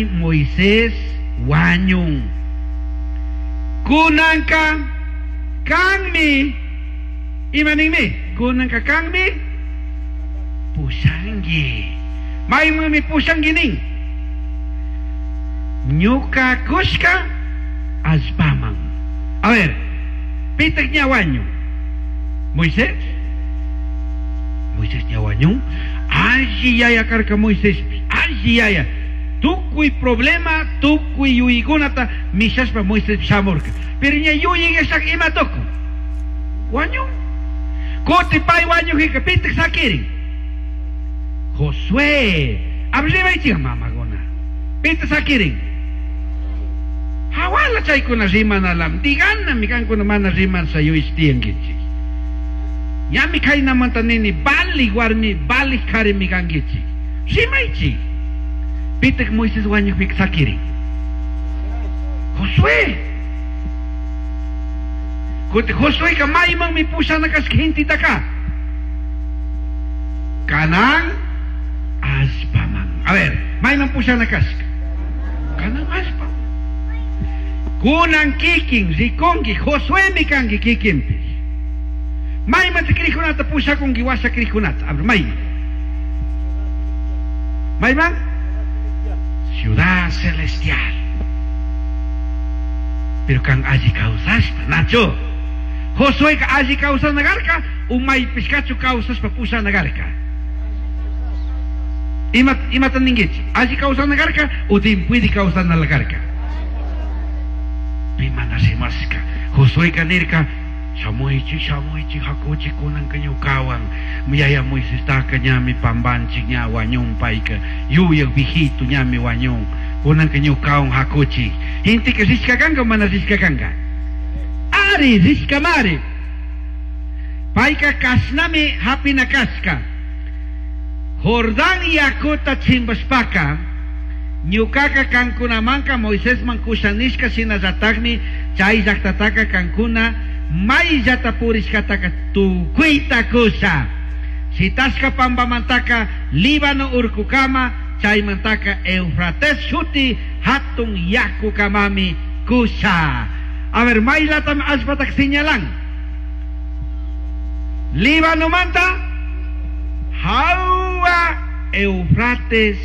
Moisés huañun. Cunanca canmi, ima ninmi? Cunanca canmi pushangui. Maimanmi pushangui nin? Ñuca cushca allpaman. A ver, pitaj ña huañun? Moisés? Moisés ña huañun? Alli yaya carca Moiséspish, alli yaya. Tucui problema, tucui yuyaicunata mishashpa Moisés shamurca. Pero ña yuyayashaka ima tucun? Huañun. Cutin pai huañujpica pitaj saquirin? Josué. A ver, rimaichik mamacuna. Pitaj saquirin? Jahuala chaicuna rimanalam. Diganami cancuna mana rimasha yuyash tiyanguichik. Ñami cainamanta nini, valij warmi, valij carimi canguichik. Rimaichik. Pitaj Moisés huañujpica saquirin? Josué. Cutin Josueca maimanmi pushana cashca gentetaca? Canaán allpaman. A ver, maiman pushana cashca? Canaán allpa. Cunan kikin ricungui, Josuemi cangui kikinpish. Maiman crijcunata pushacungui huasha crijcunata? A ver, maiman? Maiman? Ciudad Celestial. Pero can alli causashpa, nachu? Josueca alli causana carca, o maipishcachu causashpa pushana carca? Ima, imata ninguichik? Alli causana carca o timpuidi causana carca? Pi mana rimashca. Josueca nirca, shamuichik, shamuichik, jacuchik cunanca ñucahuan. Yaya Moisestaca ñami pambanchik, ña huañun paica. Yuyaj viejito ñami huañun. Cunanca ñucahuan jacuchik. Genteca rishca canga o mana rishca canga? Ari, rishcamari. Paica cashnami japina cashca. Jordán yacuta chimbashpaca, ñucaca cancunamanca Moisesman cusha nishca shinallatajmi chai llajtataca cancuna maillata purishcataca tucuita cusha. Shitashca pambamantaca Líbano urcucama, chaimantaca Eufrates shuti jatun yacucamami cusha. A ver, mailatami allpataca señalan? Líbanomanta jahua Eufrates